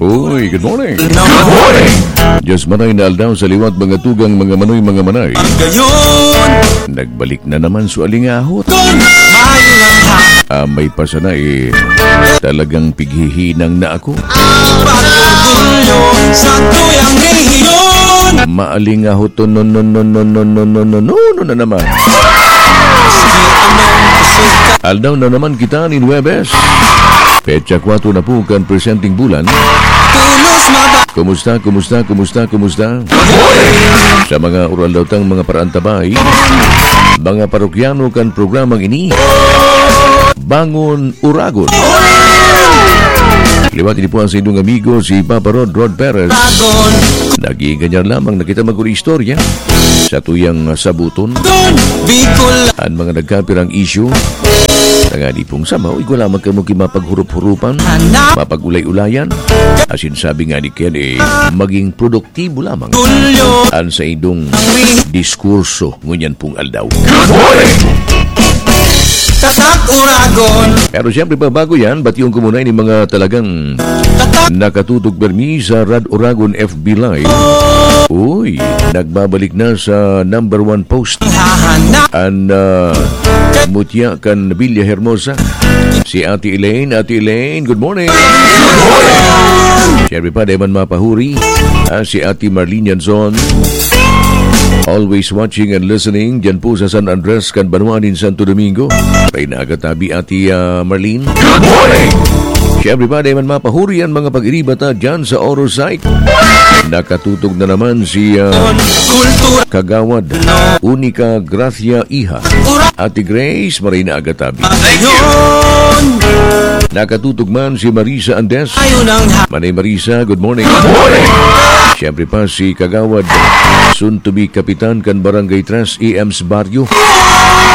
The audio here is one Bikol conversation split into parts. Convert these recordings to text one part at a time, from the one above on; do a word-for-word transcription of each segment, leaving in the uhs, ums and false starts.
Uy, good morning. Good morning. Diyos manay na aldaw sa liwat, mga tugang, mga manoy, mga manay. Gayon. Nagbalik na naman su alingahot. Kun mayo lang ha. Ah, may pasana eh. Talagang pighihinang na ako. Pag-orgulyo sa tuyang rehiyon. Maalingahot to, no, no, no, no, no, no, no, no, no, no, na naman. Aldaw na naman kita nin Huwebes. Petsa kwatro na po kan presenteng bulan. Kumusta, kumusta, kumusta, kumusta? Sa mga uraldaw tang mga paraantabay, mga parokyano kan programang ini, Bangon Uragon. Liwat ini po ang sa inyong amigo, si Papa Rod, Rod Perez. Nag-iinganyar lamang na kita mag-istorya sa tuyang sabuton. An mga nagkapirang isyu, tangani pong samaw, igwa lamang kamo ki mapaghurup-hurupan, mapag-ulay-ulayan, asin sabi nga ni Ken, eh, maging produktibo lamang an saindong diskurso ngunyan pong aldaw. Tatak Uragon. Pero siyempre, pa, bago yan, batiyon ko muna ini mga talagang nakatutok permi sa Rad Uragon F B Live. Uy, nagbabalik na sa number one post. An, ah, mutya kan Villa Hermosa, si Ate Elaine. Ate Elaine, good morning. Siyempre pa, di man mapahuri, ah, si Ate Marlene Yanzon. Always watching and listening dyan po sa San Andres, kan banwa nin Santo Domingo. Reyna Agatabi, Ate, ah, Marlene. Good morning! Siyempre pa, di man mapahuri an mga pag-iriba ta dyan sa Oro site. Nakatutok na naman si, ah, Kagawad Unica Gracia Iha. Ate Grace, maray na aga tabi. Nakatutok man si Marisa Andes. Manay Marisa, good morning. Siyempre pa si Kagawad, soon to be kapitan kan Barangay Tres E M's Barrio,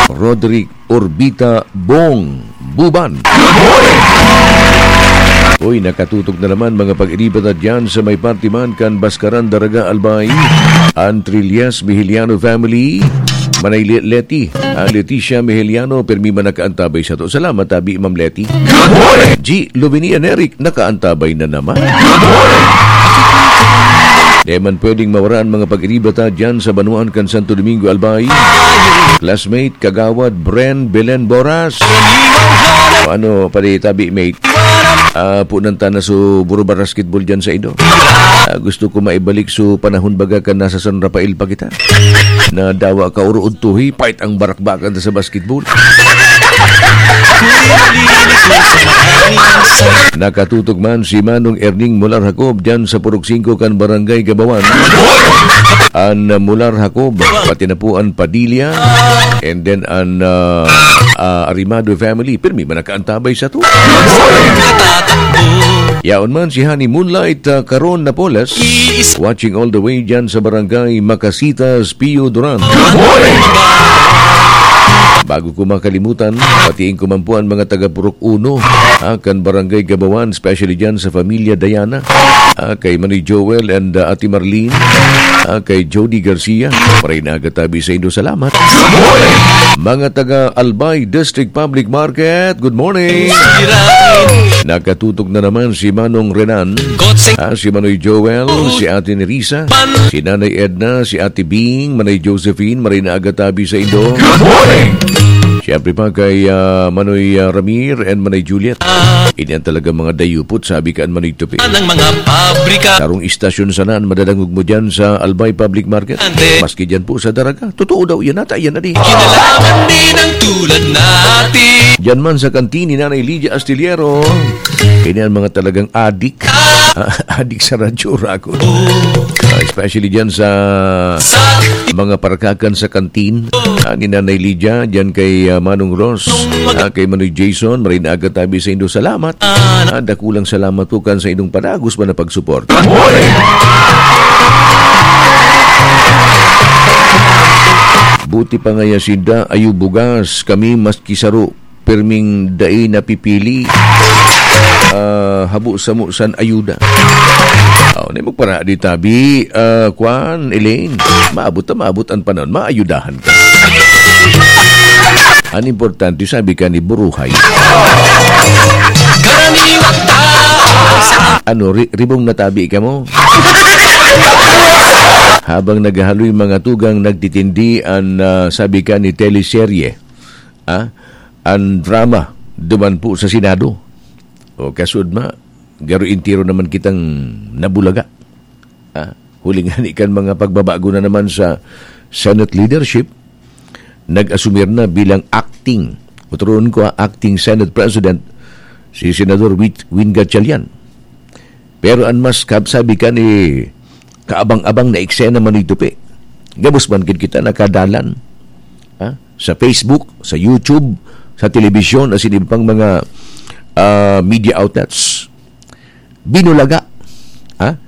Roderick Orbita Bong Buban. Uy, nakatutok na naman mga pag-iriba ta dyan sa may party man kan Baskaran, Daraga, Albay. An Trillas Mihiliano family. Manay Le-, Leti. Ah, Leticia Mihiliano, permi man nakaantabay sato. Salamat, tabi, Ma'am Leti. G. Lovenia Neric, nakaantabay na naman. Di man pwedeng mawara an mga pag-iriba ta dyan sa banwaan kan Santo Domingo, Albay. Classmate, Kagawad Bren Belen Boras. O ano, padi tabi, mate? Ah, punan ta na su Buruba Basketball dyan sa Ido. Ah, gusto ko maibalik su panahon baga kan nasa San Rafael pa kita. Na dawa ka oro udtuhi, pait ang barakbakan ta sa basketball. Nakatutok man si Manong Erning Mular Jacob dyan sa Purok Singko kan Barangay Gabawan. An Mular Jacob, pati na po an Padilla, and then an, ah, ah, Arimado family. Pirmi man nakaantabay sato. Yaon man si Honey Moonlight, ah, Caron Napoles, watching all the way dyan sa Barangay Macasitas, Pio Duran. Bago ko makalimutan, patiin ko man po an mga taga Purok Uno, ah, kan Barangay Gabawan, especially dyan sa Pamilya Diana, ah, kay Manoy Joel and, ah, Ate Marlene, ah, kay Jody Garcia. Maray na aga tabi sa indo, salamat. Mga taga Albay District Public Market, good morning. Nakatutok na naman si Manong Renan, ah, si Manoy Joel, si Ate Nerissa, si Nanay Edna, si Ate Bing, Manay Josephine, maray na aga tabi sa indo. Good morning! Siyempre pa kay, ah, Manoy, ah, Ramir and Manay Juliet. Ini ang talagang mga dayupot, sabi kan Manoy Tupi. Ng mga pabrika. Karong istasyon sana an madadangog mo dyan sa Albay Public Market. Ante. Maski dyan po sa Daraga. Totoo daw yan, ata yan na di. Kinalaman din ang tulad natin. Diyan man sa kantin ni Nanay Lydia Astillero. Kaya ang mga talagang adik. Adik sa radyo, rago. Ah, especially dyan sa mga parkakan sa kantin. Ah, ni Nanay Lydia, dyan kay, ah, Manong Ross. Ah, kay Manoy Jason, maray na aga tabi sa indo. Salamat. Ah, dakulang salamat po kan sa indong padagos man na pagsuporta. Buti pa ngaya sinda, ayo bugas. Kami maski saro, pirming dai napipili. Ah, habo samo san ayuda. Aw, ni magpara di tabi, ah, kwan, Elaine. Maabot ta, maabot an panahon, maayudahan ka. An importante, sabi ka ni Buruhay. Karaniwang tao sa Ano, ri-, ribong natabi ka mo? Habang naghahaloy mga tugang, nagtitindi an, ah, sabi ka ni teleserye, ah, an drama duman po sa Senado. O, kasud ma, garo entero naman kitang nabulaga. Ah, huli ngani kan mga pagbabago na naman sa Senate leadership, nag-asumir na bilang acting, o turuon ko, ah, acting Senate President, si Senador Win, Win Gatchalian. Pero an mas kab-, sabi ka ni kaabang-abang na eksena man ito, pe. Gabos man gid kita nakadalan, ah, sa Facebook, sa YouTube, sa telebisyon, asin iba pang mga, ah, media outlets. Binulaga, ah,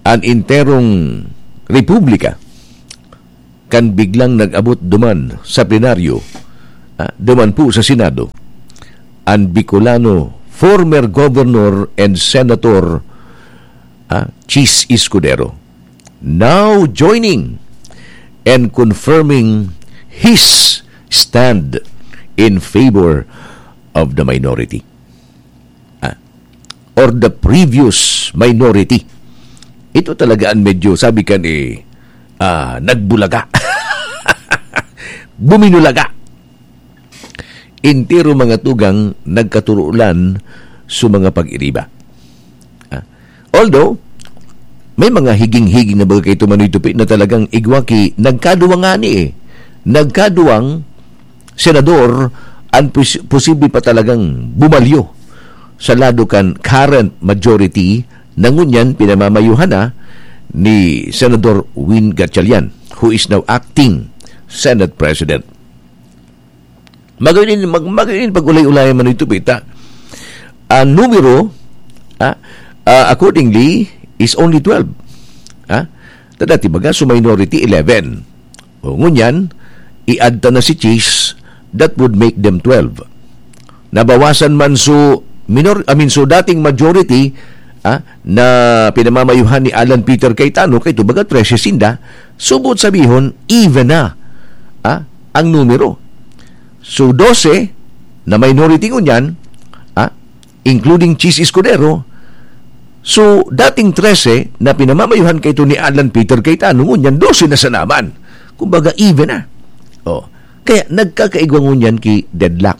an enterong republika kan biglang nag-abot duman sa plenaryo, ah, duman po sa Senado, an Bicolano former governor and senator, ah, Chiz Escudero, now joining and confirming his stand in favor of the minority. Ah, or the previous minority. Ito talaga ang medyo, sabi ka ni, ah, nagbulaga. Buminulaga. Entero mga tugang nagkaturulan sa mga pag-iriba. Ah, although, may mga higing-higing na bagay kay Tumanoy Tupi na talagang igwa ki nagkaduwang ngani eh. Nagkaduwang senador, ang pos-, posible pa talagang bumalyo sa lado kan current majority na ngunyan pinamamayuhan na ni Senador Win Gatchalian, who is now acting Senate President. Magayon, mag-, magayon pag-ulay-ulayan man ito, pita. Ang numero, ah, ah, accordingly, is only twelve. Ah? Ta dati baga, so minority, eleven. O, ngunyan, i-add ta na si Chiz, that would make them twelve. Nabawasan man so minor, I mean, so dating majority, ah, na pinamamayuhan ni Alan Peter Cayetano, kay ito baga, trese sinda, so buot sabihon, even na, ah, ang numero. So, dose na minority ngunyan, ah, including Chiz Escudero. So, dating trese na pinamamayuhan kaito ni Alan Peter Cayetano, ngunyan dose na sa naman. Kumbaga, even na. Oh. Kaya nagkakaigwa ngunyan ki deadlock.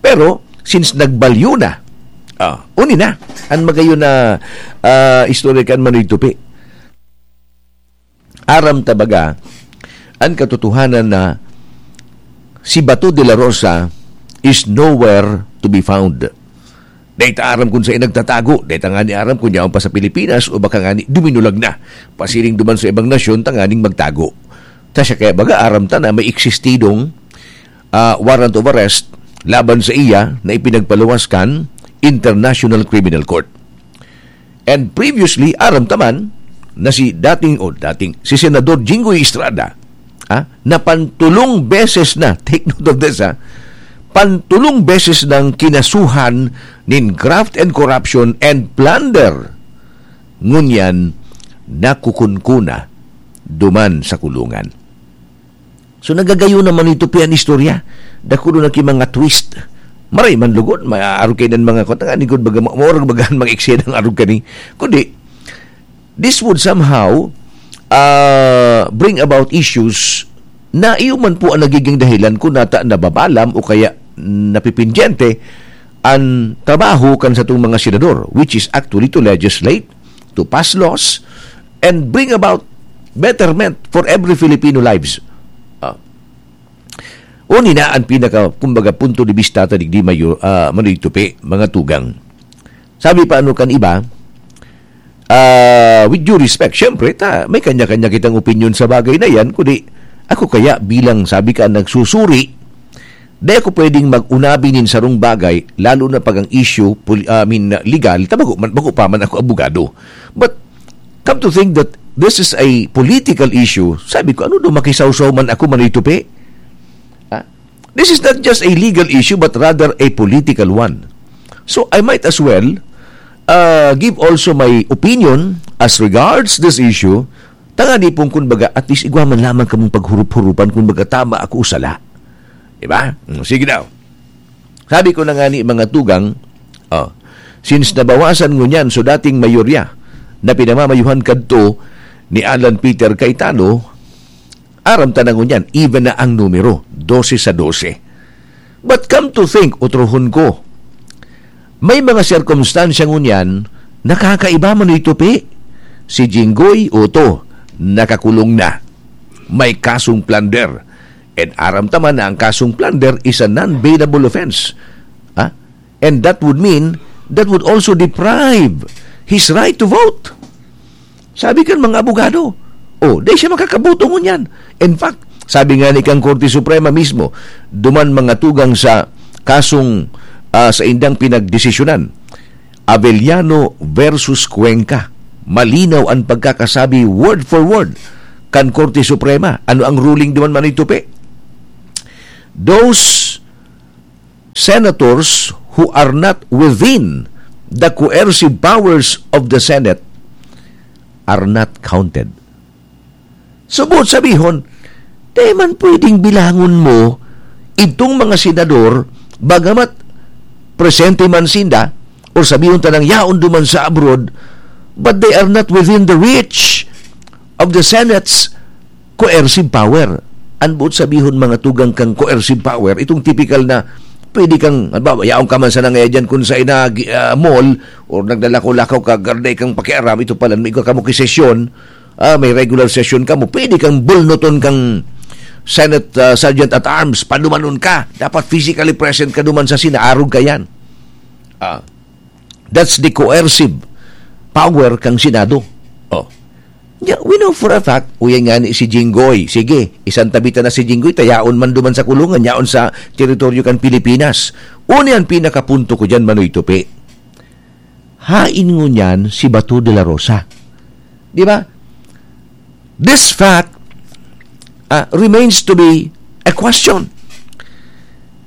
Pero, since nagbalyo na, ah, uni na, ang magayon na, ah, istorya kan Manoy Tupi. Aram ta baga, an katotohanan na si Bato de la Rosa is nowhere to be found. Dai ta aram kun saen nagtatago, dai ta ngani aram kun yaon pa sa Pilipinas o baka ngani duminulag na, pasiring duman sa ibang nasyon tanganing magtago. Ta siya kaya baga aram ta na may eksistidong, ah, warrant of arrest laban sa iya na ipinagpaluwas kan International Criminal Court. And previously, aram ta man na si dating, o dating, si Senador Jinggoy Estrada, ah, na pantulong beses na, take note of this, ah, pantulong beses nang kinasuhan nin graft and corruption and plunder. Ngunyan, nakukunkuna duman sa kulungan. So, nagagayon naman ito pi an istorya. Dakul na ki mga twist. Maray man lugod, maaarog kay nan mga kwan, nga ni gud baga, ma-, maorag baga an mga eksena ang arog kani. Kundi, this would somehow, ah, bring about issues na iyo man po ang nagiging dahilan kung nata nababalam o kaya napipindyente an trabaho kan satong mga senador, which is actually to legislate, to pass laws, and bring about betterment for every Filipino lives. Ah. Uni na ang pinaka, kumbaga, punto de vista ta digdi mayo, ah, Manoy Tupi, mga tugang. Sabi pa ano kan iba, ah, with due respect, syempre, ta, may kanya-kanya kitang opinion sa bagay na yan, kundi ako kaya bilang, sabi ka, nagsusuri, di ako pwedeng mag-unabi nin sarong bagay, lalo na pag ang issue, poli-, I mean, legal, ta bago man, bago pa man ako abogado. But, come to think that this is a political issue, sabi ko, ano daw makisawsaw man ako, Manoy Tupi? Ah, this is not just a legal issue, but rather a political one. So, I might as well, uh, give also my opinion as regards this issue. Tangani pong kun baga, at least igwa man lamang kamong paghurup-hurupan kun baga tama ako o sala. Diba? Mm, sige daw. Sabi ko na nga ni mga tugang, oh, Since nabawasan ngunyan so dating mayorya na pinamamayuhan kadto ni Alan Peter Cayetano, aram ta na ngunyan, even na ang numero, dose sa dose. But come to think, utrohon ko, may mga sirkumstansya ngunyan nakakaiba man ito, Pe. Si Jinggoy, oto, nakakulong na. May kasong plunder. And aram ta man na ang kasong plunder is a non-bailable offense. Ha? And that would mean, that would also deprive his right to vote. Sabi kan mga abogado, oh, di siya makakaboto ngunyan. In fact, sabi nga ni kang Korte Suprema mismo, duman mga tugang sa kasong, ah, sa indang pinagdesisyonan, Avellano versus Cuenca. Malinaw an pagkakasabi word for word kan Korte Suprema. Ano ang ruling duman, Manoy Tupi? Those senators who are not within the coercive powers of the Senate are not counted. So, buot sabihon, di man pwedeng bilangon mo itong mga senador, bagamat presente man sinda, or sabihon ta nang yaon duman sa abroad, but they are not within the reach of the Senate's coercive power. Ang buot sabihon, mga tugang, kang coercive power, itong typical na pwede kang, halimbawa, yaon ka man sa nangaya dyan kung sa ina, gi- ah, mall, or naglalakaw-lakaw ka, garday kang pakiaram, ito pala, may ka mo sesyon, ah, may regular session ka mo, pwede kang bulnuton kang Senate, ah, Sergeant at Arms, padumanon ka. Dapat physically present ka duman sa sinaarog ka yan. Ah, that's the coercive power kang Senado. Oh. Yeah, we know for a fact, uyan nga ni si Jinggoy. Sige, isantabi ta na si Jinggoy, ta yaon man duman sa kulungan, yaon sa teritoryo kan Pilipinas. Una yan, pinakapunto ko dyan, Manoy Tupi. Hain ngunyan si Bato de la Rosa. Di ba? This fact, ah, remains to be a question.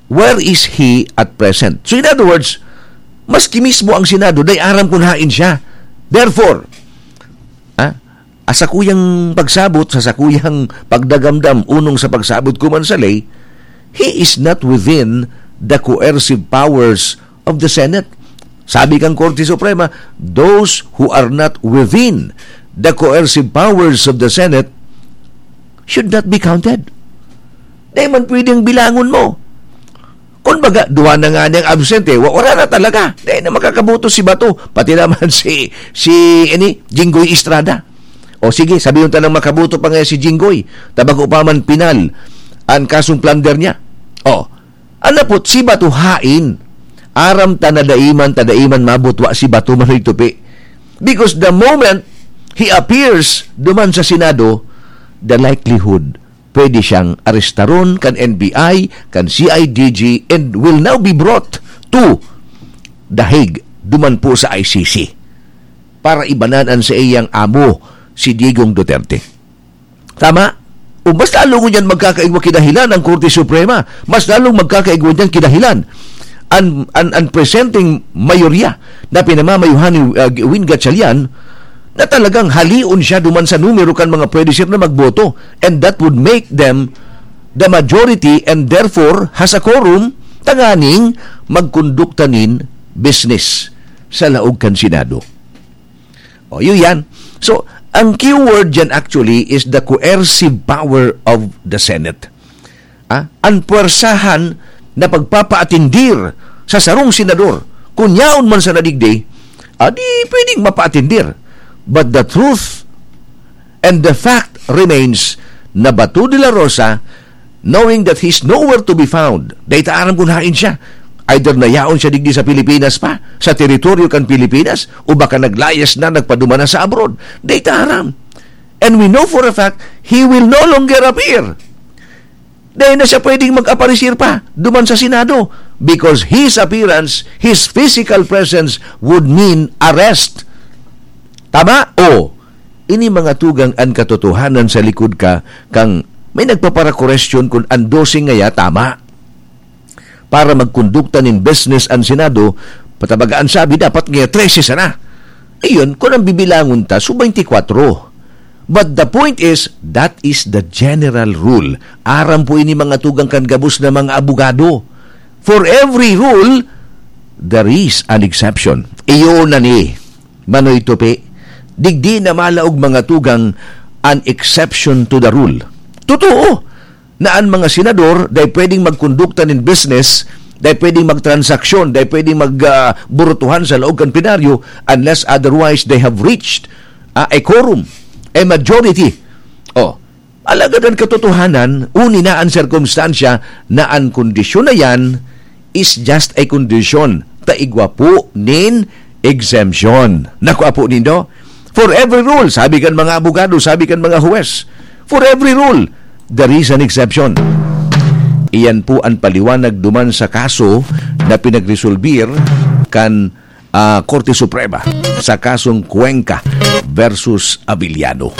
Where is he at present? So, in other words, maski mismo ang Senado, dai aram kung hain siya. Therefore, ah, asa kuyang pagsabot, sa sakuyang pagdagamdam, unong sa pagsabot ko man sa ley, he is not within the coercive powers of the Senate. Sabi kang Korte Suprema, those who are not within the coercive powers of the Senate should not be counted. Di man pwedeng bilangon mo. Kung baga, duwa na nga niyang absent eh. Wa-, wala na talaga. Di na makakaboto si Bato. Pati naman si, si, ini, Jinggoy Estrada. O sige, sabi yung tanang makaboto pa nga si Jinggoy. Tabago pa man pinal ang kasong plunder niya. O, anapot si Bato hain. Aram ta na daiman, ta daiman mabutwa si Bato, Manoy Tupi. Because the moment he appears duman sa Senado, the likelihood pwede siyang arestaron kan N B I, kan C I D G, and will now be brought to The Hague, duman po sa I C C, para ibanan an saiyang amo, si Digong Duterte. Tama? O mas lalo ngunyan magkakaigwa kidahilan ang Korte Suprema. Mas lalong magkakaigwa niyan kidahilan. An, an, an presenting mayorya na pinamamayuhan ni, uh, Win Gatchalian na talagang halion siya duman sa numero kan mga pwede siya na magboto. And that would make them the majority and therefore has a quorum tanganing magkondukta nin business sa laog kan Senado. O, yun yan. So, ang keyword dyan actually is the coercive power of the Senate. Ah, ang puwersahan na pagpapaatindir sa sarong senador, kung yaon man sa nadigdi, ah, di pwedeng mapaatindir. But the truth and the fact remains na Bato de la Rosa, knowing that he's nowhere to be found, dai ta aram kung hain siya. Either nayaon siya digdi sa Pilipinas pa, sa teritoryo kan Pilipinas, o baka naglayas na, nagpaduman na sa abroad. Dai ta aram. And we know for a fact, he will no longer appear. Dai na siya pwedeng mag-aparisir pa duman sa Senado because his appearance, his physical presence would mean arrest. Tama? O, ini mga tugang an katotohanan sa likod ka kang may nagpaparakorestyon kun an dose ngaya tama. Para magkondukta nin business an Senado, patabaga an sabi, dapat ngaya trese sana. Iyon, kun ang bibilangon ta, so twenty-four. But the point is, that is the general rule. Aram po ini mga tugang kan gabos na mga abogado. For every rule, There is an exception. Iyo na ni, Manoy Tupi. Digdi na malaog, mga tugang, an exception to the rule. Totoo na an mga senador, dai pwedeng magkondukta nin business, dai pwedeng magtransaksyon, dai pwedeng mag, ah, burutuhan sa laog kan plenaryo unless otherwise they have reached, ah, a quorum, a majority. Oh, alagad an katotohanan, uni na an sirkumstansya na an kondisyon na yan is just a condition ta igwa po nin exemption. Naku, apo nindo? For every rule, sabi kan mga abogado, sabi kan mga huwes, for every rule, there is an exception. Iyan po an paliwanag duman sa kaso na pinagresolbir kan, ah, Korte Suprema sa kasong Cuenca versus Abiliano.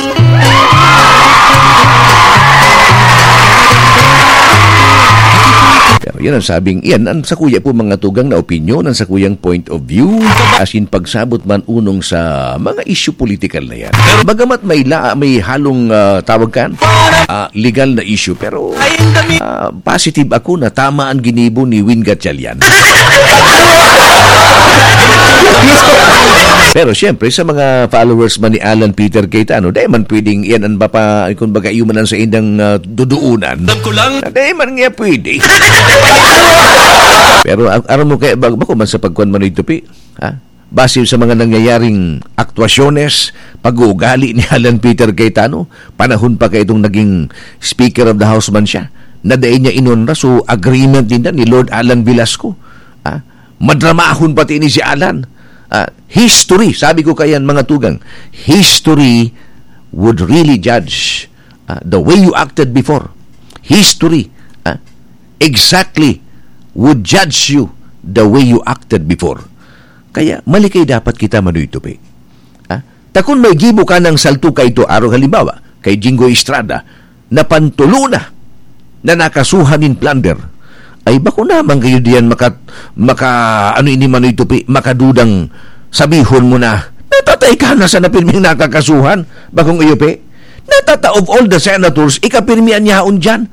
Pero yan ang sabing, yan ang sakuya po, mga tugang, na opinyon, ang sakuyang point of view, as in pagsabot man unong sa mga issue political na yan. Bagamat may la-, may halong, ah, tawag kan, ah, legal na issue, pero, ah, positive ako na tama ang ginibo ni Win Gatchalian. Pero siyempre, sa mga followers man ni Alan Peter Cayetano, dai man pwedeng yan ang bapa-, kung baga, iyo man ang sa indang, ah, duduunan. Alam ko lang. Ah, dai man nga pwede. Pero ang, aram mo kaya, bag-, bako man sa pagkuan, Manoy Tupi, ha? Base sa mga nangyayaring aktwasyones, pag-uugali ni Alan Peter Cayetano, panahon pa kaya itong naging Speaker of the House man siya, na dai niya inonra, so agreement din na ni Lord Alan Velasco. Ah, madramahon pati ni si Alan. Ah, history, sabi ko kayan, mga tugang, history would really judge, ah, the way you acted before. History, ah, exactly would judge you the way you acted before. Kaya malikay dapat kita, Manoy Tupi. Ah, ta kun may gibo ka ng salto kaito, arog halimbawa, kay Jinggoy Estrada, na pantulo na, na nakasuhan nin plunder. Ay, bako naman kayo diyan maka-, maka-, ano ini, Manoy Tupi, makadudang sabihon mo na, natatay ka na sa napirming nakakasuhan, bakong iyo, Pe? Natata of all the senators, ikapirmi an yaon diyan.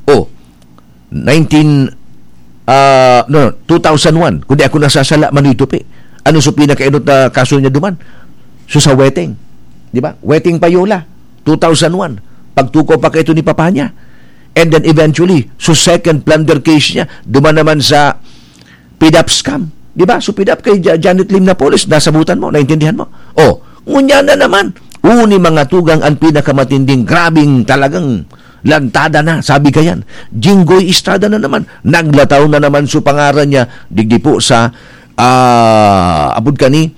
Oh, nineteen, ah, no, no, two thousand one, kung di ako nasasala, Manoy Tupi. Ano so pinakainot na kaso niya duman? So sa Weteng, di ba? Weteng Payola, two thousand one. Pagtukaw pa kaito ni papa niya. And then eventually, so second plunder case niya, duman naman sa PDAP scam. Di ba? So PDAP kay Ja-, Janet Lim Napoles, nasabutan mo, naintindihan mo. Oh, ngunyan na naman. Uni, mga tugang, ang pinakamatinding, grabing talagang lantada na, sabi kayan. Jinggoy Estrada na naman. Naglataw na naman so pangaran niya, digdi po sa, ah, apod kani,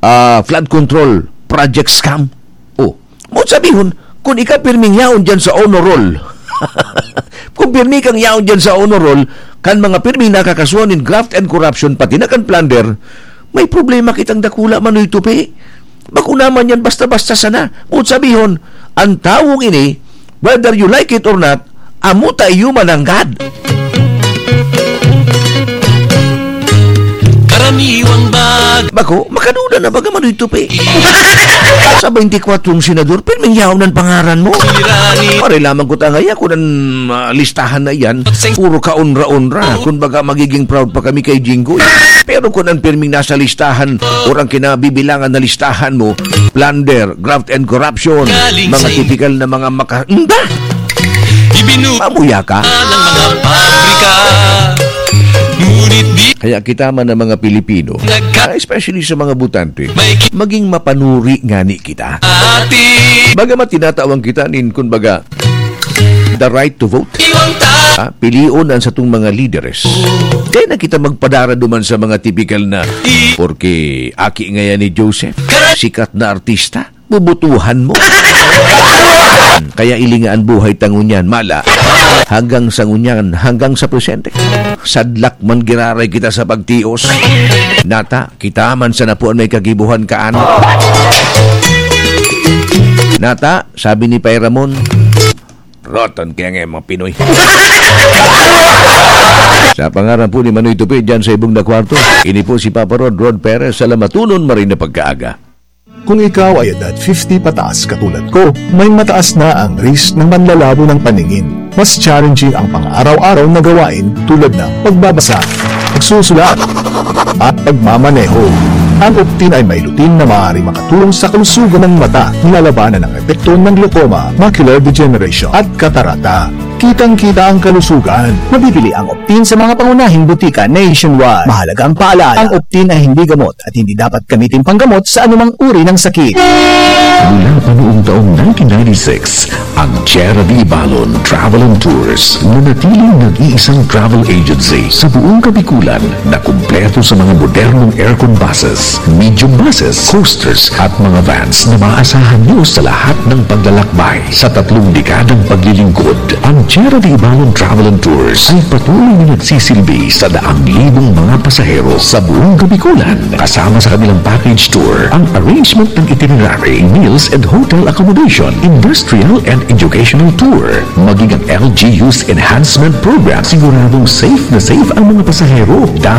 ah, flood control project scam. Oh, mo sabihon, kung ika pirming yaon dyan sa honor roll, kung pirmi kang yaon dyan sa honor roll, kan mga pirming nakakasuhan nin graft and corruption, pati na kan plunder, may problema kitang dakula, Manoy Tupi. Bako naman yan basta-basta sana. Mo sabihon, ang tawong ini, whether you like it or not, amo ta iyo mananggad. Karaniwang bag- Bako, makaduda na baga, Manoy Tupi. Sa twenty-four senador, pirming yaon ang pangaran mo. Pare lamang ko tangaya kung ang, ah, listahan na yan, puro ka onra-onra. Kung baga, magiging proud pa kami kay Jinggoy. Pero kung ang pirming nasa listahan, or ang kinabibilangan na listahan mo, plunder, graft and corruption, mga tipikal na mga maka-, nda! Ibinu- Mamuya ka. Ng mga pabrika. Ngunit di Kaya kita man ang mga Pilipino, Nagka- ah, especially sa mga botante, May ki- maging mapanuri ngani kita. Ati. Bagamat tinatawan kita nin, kumbaga, the right to vote. Iwang ta- Ah, pilion ang satong mga lideres. Di na kita magpadara duman sa mga tipikal na, I- porke aki ngayan ni Joseph, sikat na artista, bubutuhan mo. Kaya ilinga an buhay ta ngunyan, mala. Hanggang sa ngunyan, hanggang sa presente. Sadlak man giraray kita sa pagtios. Nata, kita man sa napuan may kagibuhan kaan. Nata, sabi ni Pay Ramon, roton kaya nga mga Pinoy. Sa pangaran po ni Manoy Tupi, dyan sa ibong na kwarto, ini po si Papa Rod, Rod Perez, sa Lamatunon, maray na pagkaaga. Kung ikaw ay edad fifty pataas katulad ko, may mataas na ang risk ng manlalabo ng paningin. Mas challenging ang pang-araw-araw na gawain tulad ng pagbabasa, pagsusulat, at pagmamaneho. Ang Optin ay may lutein na maaaring makatulong sa kalusugan ng mata, nilalabanan ang epekto ng glaucoma, macular degeneration, at katarata. Kitang-kita ang kalusugan. Mabibili ang Optin sa mga pangunahing butika nationwide. Mahalagang paalala, ang Optin ay hindi gamot at hindi dapat gamitin panggamot sa anumang uri ng sakit. Mula pa noong taong nineteen ninety-six, ang Tierra de Ibalon Travel and Tours, nanatiling nag-iisang travel agency sa buong Kabikulan na kumpleto sa mga modernong aircon buses, medium buses, coasters at mga vans na maaasahan nyo sa lahat ng paglalakbay. Sa tatlong dekadang paglilingkod, ang Tierra de Ibalon Travel and Tours ay patuloy na nagsisilbi sa daang libong mga pasahero sa buong Kabikulan. Kasama sa kanilang package tour, ang arrangement ng itinerary, meals and hotel accommodation, industrial and educational tour, maging ang L G U's enhancement program, siguradong safe na safe ang mga pasahero.